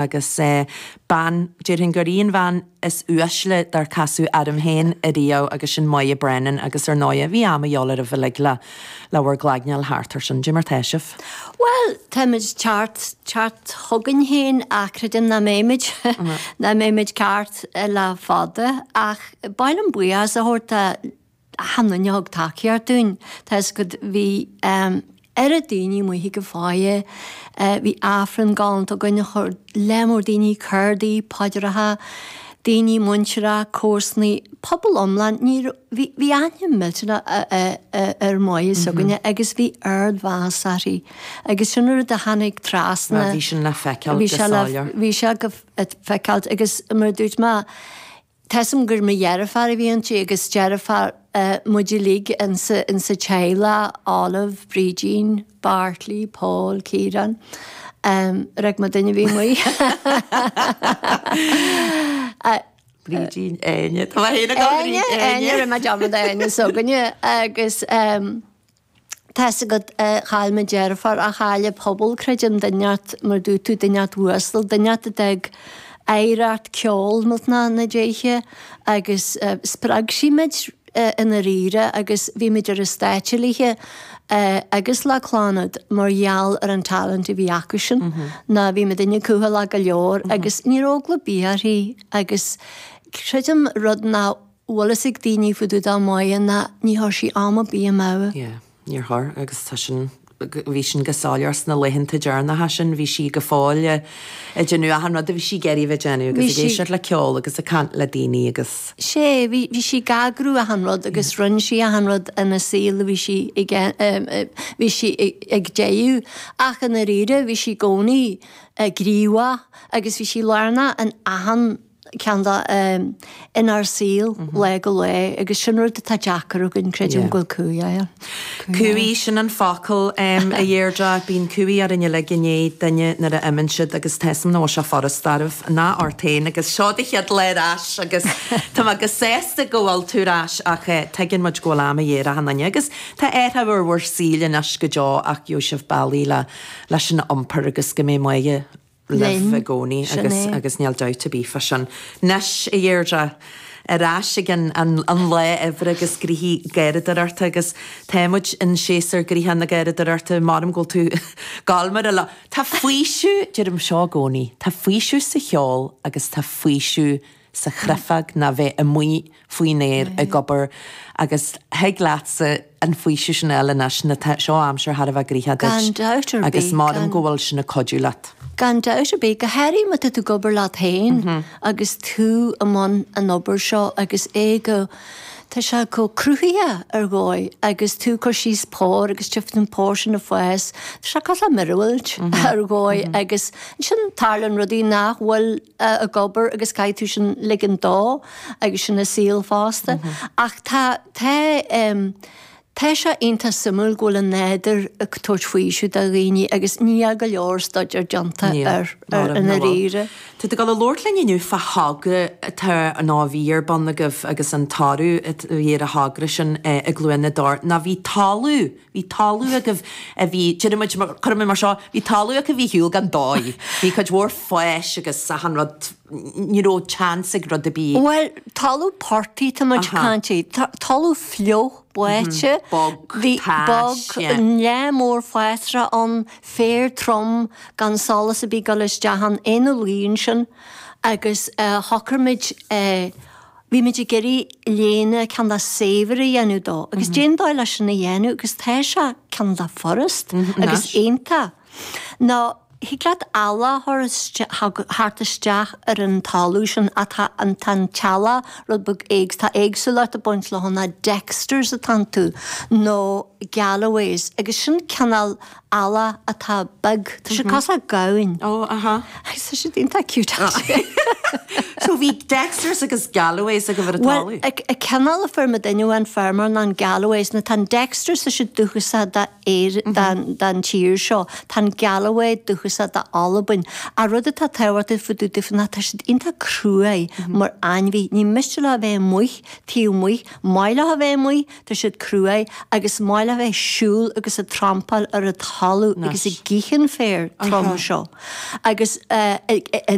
Agus bean, déarfainn gur í an bhean is uaisle dár casadh orm féin ariamh agus sin Moya Brennan agus ar ndóighe bhí am a dhíobháil oraibh uilig le le bhur gcloigne thart ar sin. Dé mar tá sibh? Bhuel, táimid ceart, ceart chugainn féin ach creidim nach mbeimid, nach mbeimid ceart le fada ach ba mhaith liom buíochas a thabhairt do achan duine a thug tacaíocht dúinn. Tá 'fhios agat, bhí oiread daoine amuigh ag an fáidhe, bhí Aifreann galánta againn a chuir lear mór daoine, cárdaí, paidreacha, daoine muinteartha, comharsanaí, pobal iomlán, ní raibh, bhí, bhí aithne millteanach ar Moya s'againne agus bhí ardmheas uirthi agus sin an rud a tháinig trasna. Bhí sin le feiceáil go soiléir. Bhí sé go feiceáil agus mar a dúirt mé, Tá 'fhios a'm gur mo dheirfiúr a bhí inti agus deirfiúr muid uilig insa teaghlach, Olive, Brídín, Bartley, Paul, Ciarán, rug mé duine a bhí amuigh. Brídín, Áine, tá mé féin ag dul Áine, Áine, rinne mé dearmad Áine s'againne agus. Tá 'fhios agat, chaill mo deirfiúr ach chaill an pobal, creidim, duine mar dúirt tú, duine uasal, duine a d'fhág oidhreacht ceoil millteanach na déithe agus spreag sí muid i ndáiríre agus bhí muid ar an stáitse léithe agus le Clannad mar gheall ar an talent a bhí acusan ná bhí muidinne cúthaileach go leor agus ní raibh eagla ar bith uirthi agus creidim rud nach bhfuil fhios ag daoine fá dtaobh de Moya ná ní chuir sí am ar bith amú. Yeah, níor chuir agus tá sin, bhí sin go soiléir sna laethanta deireanacha sin, bhí sí go fóill ag déanamh achan rud a bhí sí ag iarraidh a bheith ag déanamh agus ag éisteacht le ceol agus ag caint le daoine agus. Sea, bhí, bhí sí ag eagrú achan rud agus rinne sí achan rud ina saol a bhí sí ag, bhí sí ag déanamh ach i ndáiríre bhí sí i gcónaí gníomhach agus bhí sí lárnach in achan ceann de inár saol lá go lá agus sin rud atá deacair againn, creidim go bhfuil cumhaidh ann. Cumhaidh, sin an focal, a Dheirdre. Bíonn cumhaidh orainn uilig i ndiaidh duine nuair a imíonn siad agus tá 'fhios a'm nach bhfuil sé furasta oraibh ná ort féin agus seo do chéad lá ar ais agus tá mé go sásta go bhfuil tú ar ais ach tuigeann muid go bhfuil am a dhíth ar achan duine agus tá athrú ar bhur saoil anois go deo ach gheobhaidh sibh bealaí leis sin a iompar agus go mbeidh Moya libh i gcónaí agus agus níl dabht ar bith fá sin. Anois, a Dheirdre, ar ais ag an an an lá oibre agus gnoithí garradóireachta agus tá muid in séasúr gnoitheach na garradóireachta, maram go bhfuil tú gabháil mar a la. Tá faoiseamh, deirim seo i gcónaí, tá faoiseamh sa cheol agus tá faoiseamh sa chreifeag ná bheith amuigh faoin aer ag obair agus thig leatsa an faoiseamh sin a fháil anois nó tá seo aimsir thar a bheith gnoitheach duit Gan dabht ar agus bith, maram gan. go bhfuil sin ag cuidiú leat. Gan dabht ar bith, go háirithe má tá tú ag obair leat féin agus tú i mbun an obair seo agus é go, tá sé chomh cruthaitheach ar dhóigh agus tú ag cur síos pór agus tchífidh tú an pór sin ag fás, tá sé cosúil le míorúilt ar dhóigh agus ansin tarlaíonn rudaí nach bhfuil ag obair agus caithfidh tú sin ligean dó agus sin an saol fosta. Ach tá, tá, tá sé iontach suimiúil go bhfuil an nádúr ag tabhairt faoiseamh do dhaoine agus níl go leor staidéar déanta air i ndáiríre. Tá tú ag dul a labhairt linn inniu fá thogra atá nó a bhí ar bun agaibh agus an toradh a bhí ar an thogra sin i gCluain na dTor ná bhí talamh Bhí talamh agaibh a bhí, déarfaidh muid, cuirfidh mé mar seo, bhí talamh acu a bhí ar shiúl gan dóigh. Bhí cuid mhór fáis agus achan rud, ní raibh chance ag rud ar bith. Bhuel, talamh portaigh tá muid ag caint air. Talamh fliuch, báite. Bog, Bhí tais, bog, yeah. lear mór fásra ann, féar trom, gan solas ar bith ag dul isteach ann, ina luí ansin agus shocraigh muid, Bhí muid ag iarraidh léana cineál saibhir a dhéanamh dó agus cén dóigh leis sin a dhéanamh agus tá sé cineál furast agus iontach. Nó thig leat eallach a thabhairt isteach ar an talamh sin ach tá an tá an t-eallach rud beag éags tá éagsúlacht ag baint leo ná Dexters atá iontu nó Galloways agus sin cineál eallach atá beag. Tá sé cosúil le gamhain. Ó, aha. Agus tá siad iontach cute actually. So bhí Dexters agus Galloways agaibh ar an talamh? Bhuel, an cineál a fuair muidinne ón feirmeoir ná an Galloways. Nó tá an Dexters tá siad dúchasach do Éire, don tír seo. Tá an Galloway dúchasach. dúchasach d'Albain. Ach rud atá tábhachtach fá dtaobh daofa ná tá siad iontach cruaidh mar ainmhí. Ní miste leo a bheith amuigh, taobh amuigh, maith leo a bheith amuigh, tá siad cruaidh agus maith leo a bheith ag siúl agus ag trampáil ar an talamh agus ag ithe an féar trom seo. Agus i.